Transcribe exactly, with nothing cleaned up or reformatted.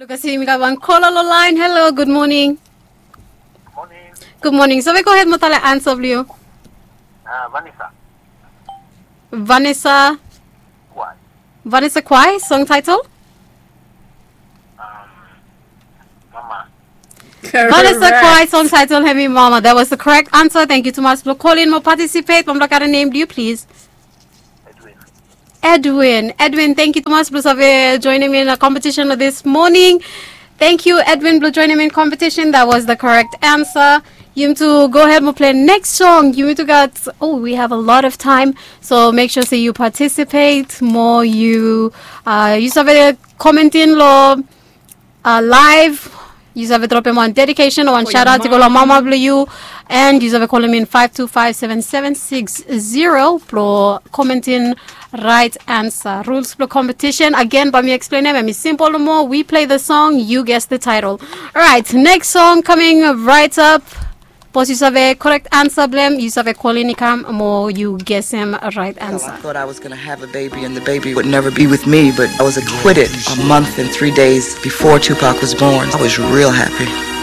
Kasi yumi gat wan kola lo laen. Hello, gud moning. Gud moning. So we go hed mo talem ansa blo yu. Vanessa. Vanessa Kwai, song title. Vanessa Kwai, song title hemi Mama. That was the correct answer. Thank you tumas blo kolin mo participate. Bamdok, gat a nem blo yu, please. Edwin. Edwin, thank you tumas blo save joining me in a competition this morning. Thank you, Edwin, blo joining me in competition. That was the correct answer. Yumitu go hed mo play next song. Yumitu gat, oh, we have a lot of time. So make sure say you participate mo. Yu, uh, yu save comment in lo uh, live. Yu save dropem wan dedication o wan shout out i go lo mama blo yu. And yu save kolem in five two five seven seven six zero blo comment in right answer. Rules blo competition again, bae mi explain hem. Hemi simple nomo. We play the song, you guess the title. Alright, next song coming right up. Sapos yu save correct answer blo hem, yu save kolin i kam mo yu gesem right answer. I thought I was going to have a baby and the baby would never be with me, but I was acquitted a month and three days before Tupac was born. I was real happy.